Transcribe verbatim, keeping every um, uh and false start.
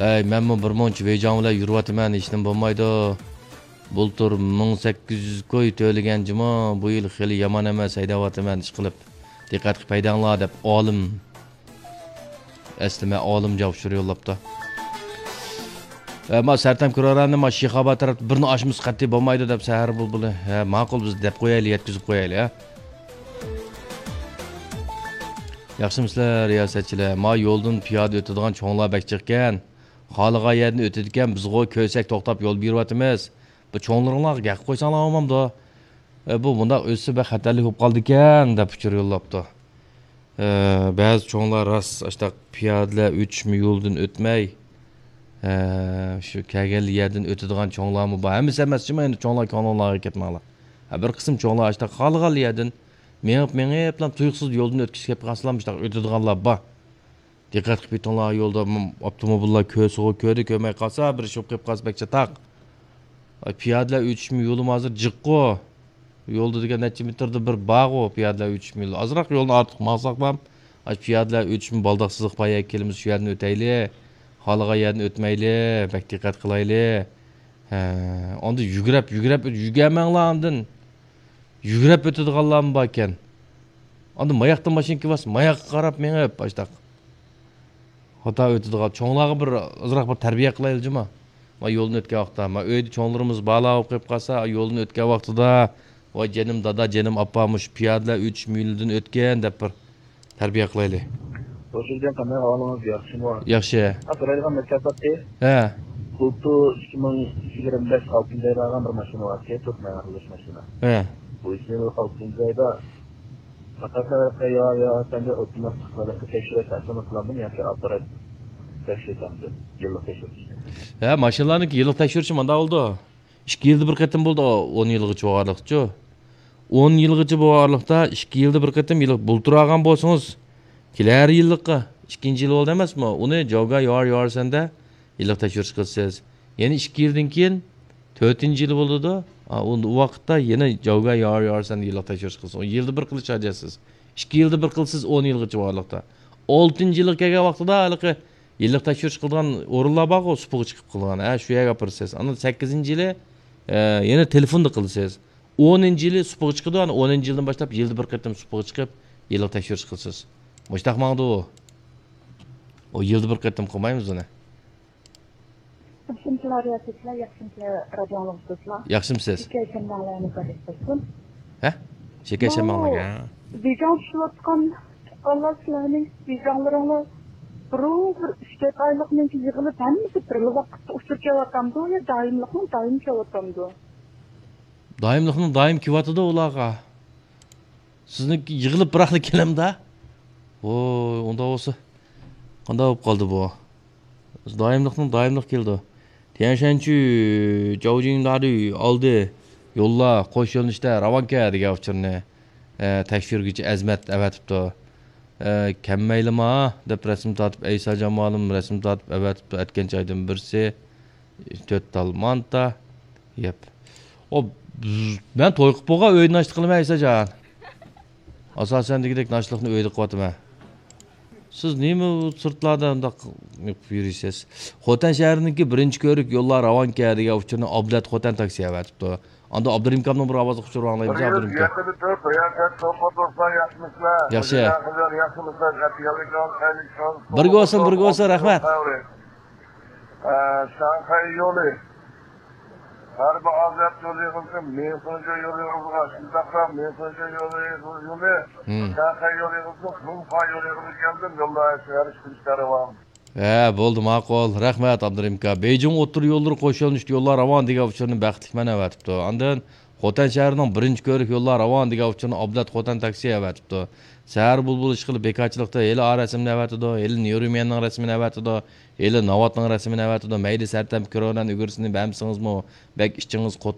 ئەي، مەنمۇ بىر مۇنچە بېيجاڭ بىلەن يۈرۈۋاتىمەن، ھېچنېمە بولمايدۇ. بۇلتۇر مىڭ سەككىز يۈز كوي تۆلىگەن جۇمۇ، بۇ يىل خېلى يامان ئەمەس، ھەيدەۋاتىمەن، ئىشقىلىپ. دىققەت قىلىپ ھەيدەڭلار، دەپ ئالىم. ئەسلى مەن ئالىم جاۋاب يوللاپتۇ. ئەمما سەرتەم كۇرارانى ما شىخاباد تەرەپتە بىرنى ئاشمىسا قەتئىي بولمايدۇ، دەپ سەھەر بۇلبۇلى. ھە، ماقۇل، بىز دەپ قويايلى، يەتكۈزۈپ قويايلى، ھە. ياخشىمۇسىلەر، رىياسەتچىلەر؟ ما يولدىن پىيادە ئۆتىدىغان چوڭلار بەك جىقكەن. خالىغان يەردىن ئۆتىدىكەن، بىزغۇ كۆرسەك توختاپ يول بېرىۋاتىمىز. بۇ چوڭلىرىڭلارغا گەپ قويساڭلار بولمامدۇ؟ ئە، بۇ مۇنداق ئۆتسە بەك خەتەرلىك بولۇپ قالىدىكەن، دەپ ئۇچۇر يوللاپتۇ. ئە، بەزى چوڭلار راست ئاشتاق پىيادىلەر ئۆتۈشمە يولىدىن ئۆتمەي، ئە، شۇ كەلگەن يەردىن ئۆتىدىغان چوڭلارمۇ بار. ھەممىسى ئەمەس جۇمۇ، ئەمدى چوڭلار كۆڭلۈڭلارغا كەتمەڭلار. ھە، بىر قىسىم چوڭلار ئاشتاق خالىغان يەردىن مېڭىپ، مېڭىپلا تۇيۇقسىز يولدىن ئۆتكۈسى كېلىپ قالسىلا، مۇشتاق ئۆتىدىغانلار بار. دىققەت قىلىپ يېتىڭلار، يولدا م-، ئاپتوموبىللار كۆرسىغۇ كۆردى، كۆرمەي قالسا، بىر ئىش بولۇپ قېلىپ قالسا بەك چاتاق. ئاي، پىيادىلەر ئۆتۈشمە يولىمۇ ھازىر جىققۇ. يولدا دېگەن نەچچە مېتىردا بىر بارغۇ پىيادىلەر ئۆتۈشمە يولى. ئازراق يولنى ئارتۇق ماڭساقلام، ئاي، پىيادىلەر ئۆتۈشمە بالداق سىزىق پايا كېلىمىز، شۇ يەردىن ئۆتەيلى. خالىغان يەردىن ئۆتمەيلى، بەك دىققەت قىلايلى. ھە، ئاندىن يۈگرەپ، يۈگرەپ، يۈگەرمەڭلار ئاندىن. يۈگرەپ ئۆتىدىغانلارمۇ باركەن. ئاندىن ماياقتىن ماشىنا كېلىۋاتسا، ماياققا قاراپ مېڭىپ، ئاشتاق. خاتا ئۆتىدىغان چوڭلارغا بىر ئازراق بىر تەربىيە قىلايلى جۇما. ما يولدىن ئۆتكەن ۋاقىتتا، ما ئۆيدە چوڭلىرىمىز بالىلار بولۇپ قېلىپ قالسا، يولدىن ئۆتكەن ۋاقتىدا، ۋاي جېنىم دادا، جېنىم ئاپا، مۇشۇ پىيادىلەر ئۆتۈش مۇيلىدىن ئۆتكەن دەپ بىر تەربىيە قىلايلى. خوش گەلدىڭ، قانداق ئەھۋالىڭىز، ياخشىمۇ؟ ياخشى. ھە، سورايدىغان مەسىلە بار. ھە. بۇلتۇر ئىككى مىڭ يىگىرمە بەش ئالتىنچى ئايدا ئالغان بىر ماشىنا بار ئىكەن، تۆت مىڭ قىلىش ماشىنا. ھە. بۇ ئىككى مىڭ ئالتىنچى ئايدا پەقەت يا، يا، سەندە ئوتتۇرىلىق تەكشۈرۈش تەسىراتى قىلاندىم ياكى ئاپپارات تەكشۈرتەمدۇ؟ يىللىق تەكشۈرۈش. ھە، ماشىنىلارنىڭكى يىللىق تەكشۈرۈشى مانداق بولىدۇ. ئىككى يىلدا بىر قېتىم بولىدۇ، ئون يىلغىچە بولغانلىقچۇ. ئون يىلغىچە بولغانلىقتا ئىككى يىلدا بىر قېتىم يىللىق بۇلتۇر ئالغان بولسىڭىز، كېلەر يىللىققا ئىككىنچى يىل بولدى ئەمەسمۇ؟ ئۇنى جاۋگا يار يار سەندە يىللىق تەكشۈرۈش قىلىسىز. يەنە ئىككى يىلدىن كېيىن تۆتىنچى يىلى بولىدۇ. ئا، ئۇ، ئۇ ۋاقىتتا يەنە جاۋگا يار يار سەندە يىللىق تەكشۈرۈش قىلسىڭىز. ئۇ يىلدا بىر قىلىش ھاجەتسىز. ئىككى يىلدا بىر قىلسىز ئون يىلغىچە بارلىقتا. ئالتىنچى يىلغا كەلگەن ۋاقتىدا ھېلىقى يىللىق تەكشۈرۈش قىلىدىغان ئورۇنلار بارغۇ، سۇپىغا چىقىپ قىلغان. ھە، شۇ يەرگە ئاپىرىسىز. ئاندىن سەككىزىنچى يىلى، ئە، يەنە تېلېفوندا قىلىسىز. ئونىنچى يىلى سۇپىغا چىقىدۇ، ئاندىن ئونىنچى يىلدىن باشلاپ يىلدا بىر قېتىم سۇپىغا چىقىپ، يىللىق تەكشۈرۈش قىلىسىز. مۇشتاق ماڭىدۇ. ئۇ يىلدا بىر قېتىم قىلمايمىز ئۇنى. ياخشىمۇسىلەر، رىياسەتچىلەر، ياخشىمۇسىلەر، رادىيو ئاڭلىغۇچىلار؟ ياخشىمۇسىز؟ شېكەر شەممەڭلەرنى بەرىكەت قىلسۇن. ھە؟ شېكەر شەممەڭلەرگە. بېيجىڭ چۈشۈۋاتقان تۇغقانلار، سىلەرنىڭ بېيجىڭلىرىڭلار بۇرۇن بىر ئۈچ تۆت ئايلىقنىڭكى يىغىلىپ ھەممىسى بىرلا ۋاقىتتا ئۇچۇر كېلىۋاتامدۇ يا دائىملىقنىڭ دائىم كېلىۋاتامدۇ؟ دائىملىقنىڭ دائىم كېلىۋاتىدۇ ئۇلارغا. سىزنىڭكى يىغىلىپ بىراقلا كېلەمدا؟ ۋوي، ئۇنداق بولسا قانداق بولۇپ قالدى بۇ؟ دائىملىقنىڭ دائىملىق كېلىدۇ. تيەنشەنچۈ جاۋجىڭدارى ئالدى يوللار قوش يۆنىلىشتە راۋانكە دېگەن ئۇچۇرنى، ئە، تەكشۈرگۈچى ئەزمەت ئەۋەتىپتۇ. ئە، كەممەيلىما دەپ رەسىم تارتىپ، ئەيسا جامالىم رەسىم تارتىپ ئەۋەتىپتۇ. ئەتكەنچە ئايدىن بىرسى، تۆت تال مانتا يەپ. ئو، مەن توي قىلىپ بولغان ئۆيدە ناشتا قىلىمەن، ئەيساجان. ئاساسەن دېگۈدەك ناشتىلىقنى ئۆيدە قىلىۋاتىمەن. سىز نېمە بۇ سىرتلاردا ئۇنداق يۈرۈيسىز؟ خوتەن شەھىرىنىڭكى بىرىنچى كۆۋرۈك يوللار راۋانكە دېگەن ئۇچۇرنى ئابلەت خوتەن تاكسى ئەۋەتىپتۇ. ئاندىن ئابدۇرېھىم ئاكامنىڭ بىر ئاۋازلىق ئۇچۇرى ئاڭلايمىز، ئابدۇرېھىم ئاكا. ياخشى. بىرگە بولسۇن، بىرگە بولسۇن، رەھمەت. ئە، شاڭخەي يولى. غەربىي ئازىيات يولى يىغىلىشى، مىڭفېنجو يولى يىغىلىشىغا، شۇنداقلا مىڭفېنجو يولى، يولى، مم. شاڭخەي يولى يىغىلىشى، مىڭفا يولى يىغىلىشى كەلدىم، يوللار ھەر ئىش كۈلۈشتە راۋان. ھە، بولدى، ماقۇل. رەھمەت، ئابدۇرېھىم ئاكا. بېيجىڭ ئوتتۇرا يوللىرى قوش يۆنىلىشتە يوللار راۋان دېگەن ئۇچۇرنى بەختلىك مەن ئەۋەتىپتۇ. ئاندىن خوتەن شەھىرىنىڭ بىرىنچى كۆۋرۈك يوللار راۋان دېگەن ئۇچۇرنى ئابلەت خوتەن تاكسى ئەۋەتىپتۇ. سەھەر بۇلبۇل ئىشقىلىپ بىكارچىلىقتا ھېلى ئا رەسىمنى ئەۋەتىدۇ، ھېلى نيۇرۇميەننىڭ رەسىمىنى ئەۋەتىدۇ، ھېلى ناۋاتنىڭ رەسىمىنى ئەۋەتىدۇ. مەيلى سەرتەم كۆرۈۋېلەن ئۈگرىسىنى بەرمىسىڭىزمۇ، بەك ئىچىڭىز قوت